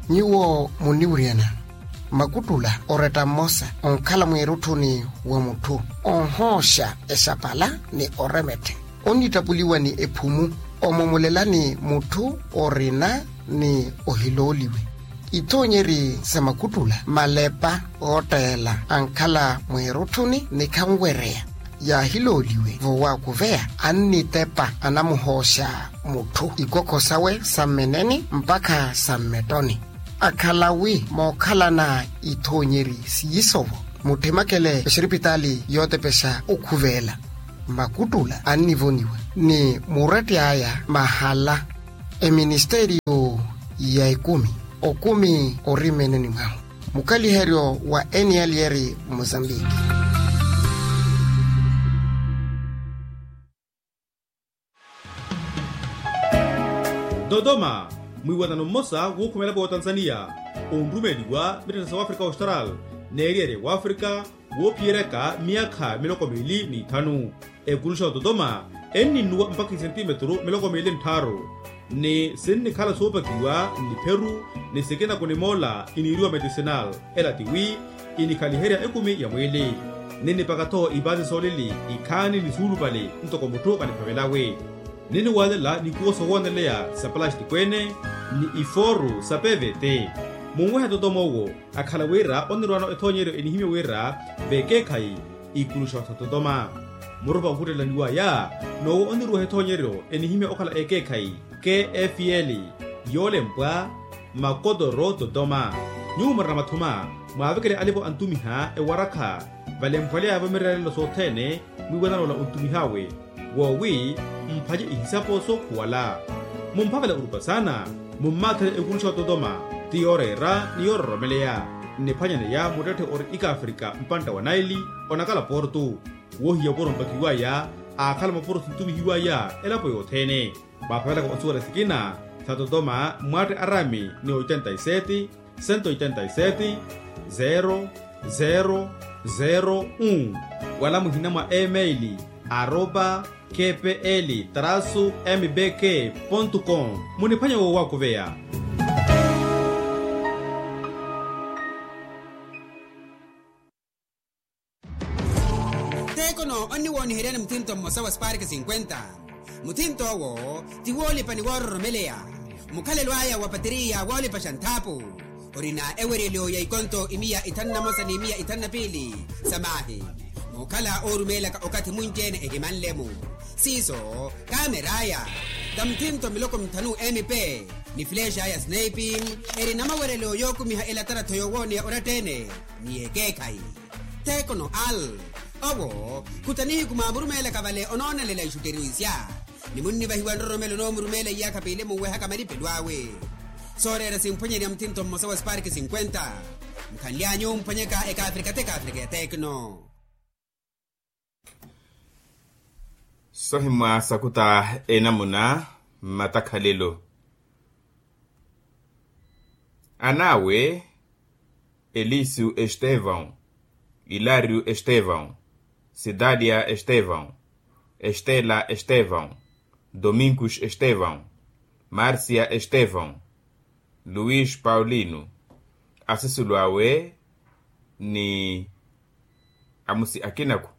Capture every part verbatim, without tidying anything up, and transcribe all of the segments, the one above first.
Nyuwo muniwuryana makuttula oretta mmosa onkhala mweerutthuni wa mutthu, onhooxa exapala ni oremetthe, onnittapuliwa ni ephumu, omomolelani mutthu orina ni ohilooliwe. Ithoonyeri sa makuttula malepa ootteela ankhala mweerutthuni ni khanwereya yaahilooliwe vowakuveya, annitepa anamuhooxa mutthu ikokho sawe sa mmeneni mpakha sa mmettoni. Akhala wi mookhalana ithoonyeri siisovo, mutthimakele exiripitaali yootepexa okhuveela. Makuttula annivoniwa ni muretti aya mahala eministeriyo ya ekumi, okumi ori mmeneni mwahu. Mukaliheryo wa eniyalyeri mozambiki. Dodoma, mwiiwanano mmosa wuukhumela-vo otanzaniya onrumeeliwa mitthana sa wafrika austral n'eriyerya wafrika woophiyeryaka myaakha miloko miili n'ithanu. Ekuluxa ototoma enninnuwa mpakha isentimetru miloko miili nttharu, ni sinnikhala soopakiwa nnipheru ni sikina kunimoola iniiriwa medicinal. Ela tiwi inikhaliherya ekumi ya mwiili, ninnipaka-tho ipaasi soolili ikhaani ni suulupale ntoko mutthu kaniphavelawe. Ninniwaalela nikuwo sowooneleya sa palastiko-ene ni ifooru sa pevete. Munwehe totoma owo akhala wira onnirwaano ethoonyeryo enihimya wira vekeekhayi ikuluxa sa totoma. Murupa okhuttelaniwaya n'owo onniruweha ethoonyeryo enihimya okhala ekeekhayi kfl yoolempwa makotoro totoma. Nyuwo murina mathuma mwaavekele alipo antumiha ewarakha valemphwalyaya-vo mirerelelo sothene mwiiwanano ola ontumih'awe woowi mphanye ihisapo sookhuwala. Mumphavela orupa saana mummaathele ekuluxa ototoma ti yooreera ni yoororomeleya. Nniphwanyaneya muttetthe ori ikafrika mpantta wa naili onakala portu woohiya opuro mpakiwaya aakhala mapuro sintumihiwaya elapo yothene. Mwaaphavelaka onsuwela sikina sa totoma mwatte arami ni oitenta y sete, sento oitenta y sete, zero zero zero un, wala muhina mwa email aropa kpl trasu mbk pontu com. Muniphwanya woowakuveya. Tekono onniwooniheryani muthinto mmosa wa spark cinquenta. Muthinto owo ti woolipa ni woororomeleya. Mukhalelo aya wa pateriya woolipaxa nthaapu orina eweryelo ya ikonto imiya ithanu na mosa ni imiya ithanu na piili sa maahi. Muukhala oorumeelaka okathi munci-ene ehimanle-mu siiso. Kameraya ta muthinto miloko mithanu mp ni flexa ya snipe eri na mawerelo yookumiha elatarattho yoowooneya oratta-ene ni yekeekhayi. Tekono al owo khuta nihiku mwaamurumeelaka vale onoonelela ixutteriwisya ni munnivahiwa nroromelo onoomurumeela iyaakha piili munwehaka malipelo awe. Sooreera simphwanyerya muthinto mmosa wa spark cinquenta. Mukhanly'anyu mphwanyeka ekaafrika t'ekaafrika ya tekno. Sohimwa sakuta enamuna mmatakhalelo. An'awe elisu estevão, hilario estevão, cidadia estevão, estela estevão, domingos estevão, márcia estevão, luís paulino, asisulu awe ni amusi akinaku.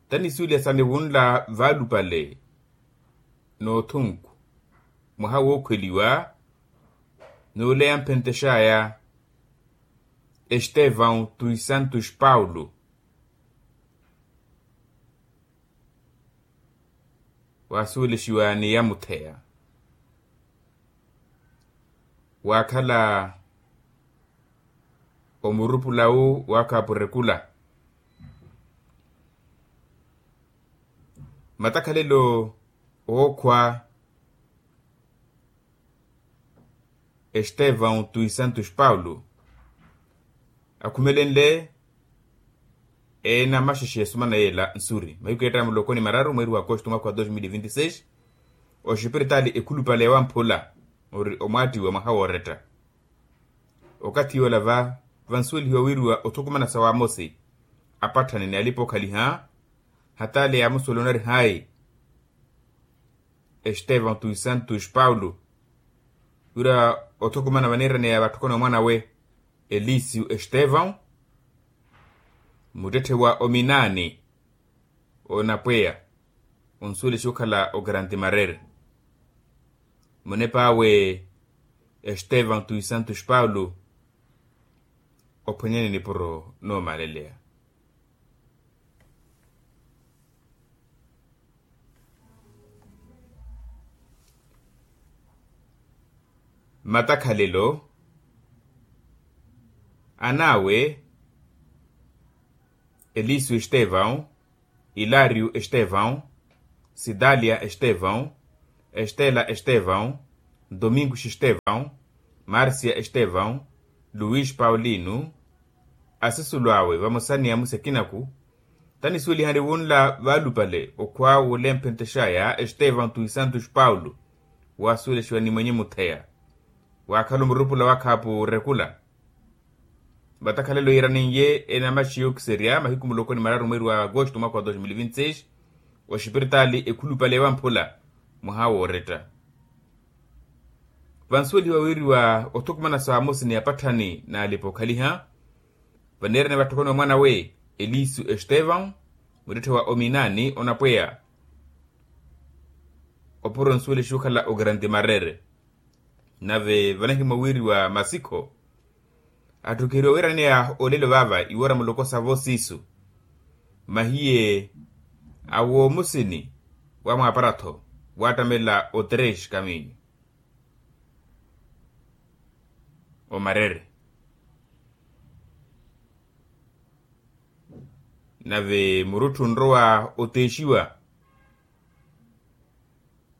Tanisuweliha sa niwunla vaalupale n'othunku mwaha wookhweliwa n'ule yamphentexaya estevão tui santos paulo. Waasuwelexiwa ni yamutheya waakhala omurupulawu waakhapurekula. Matakhalelo ookhwa estevão tui santos paulo akhumelenle eenamaxexe esumana yeela nsuri mahiku eettaya muloko ni mararu mweeri wa akosto mwaka wa dos mil vinti seis. Oxipiritaali ekhulupale ewamphula ori omwaattiwa mwaha wooretta. Okathi yoola va vansuwelihiwa wiiriwa othukumana sa waamosi apatthani ni alipa okhaliha hataali yaamusuwela onari hayi estevão tui santos paulo. Wira othukumana vaneeraneya vatthukana omwanawe, elicio estevão, muttetthe wa ominaani, onapweya onsuwelexi okhala ogrande marere. Munep'awe, estevão tui santos paulo, ophwanyani nipuro noomaleleya. Matakhalelo, an'awe, elicio estevão, hilario estevão, cidalia estevão, estela estevão, domingos estevão, márcia estevão, luís paulino, asisulu awe vamosa ni amusi akinaku. Tanisuwelihani wunla vaalupale okhwa wulempentexaya estevão tui santos paulo, waasuwelexiwa ni mwenye mutheya, waakhala omurupula wa khaapu orekula. Vatakhalelo yiiranin'ye enamaxi yookiserya mahiku muloko ni mararu mweeri wa agosto mwaka wa dos mil vinti seis, oxipiritaali ekhulupale wa mphula, mwaha wooretta. Vansuwelihiwa wiiriwa othukumana sa amosi ni apatthani n'alipa okhaliha, vaneerene vatthukana omwanawe, elicio estevão, muttetthe wa ominaani onapweya, opuro nsuwelexi okhala ogrande marere. Nave vanahimwa wiiriwa masikho, atthukiheriwa wiiraneya olelo vaava iwoora muloko sa vosiisu. Mahiye awoomusini wa mwaaparattho, waattamela otres kaminyu, omarere. Nave murutthu onrowa oteexiwa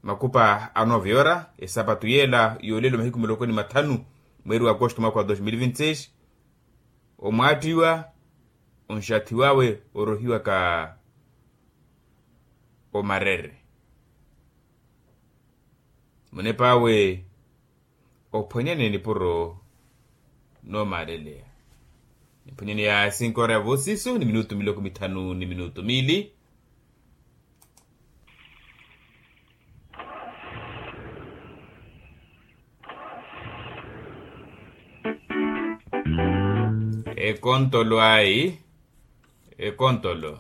makupa a nove ora esapatu yeela yoolelo mahiku miloko ni mathanu, mweeri wa agosto mwaka wa dos mil vinti seis, omwaattiwa, onxathiw'awe orohiwaka omarere. Munep'awe, ophwanyani nipuro noomaaleleya. Niphwanyani ya cinco ora ya voosiso ni minutu miloko mithanu ni minutu miili. Ekontolo ayi, ekontolo.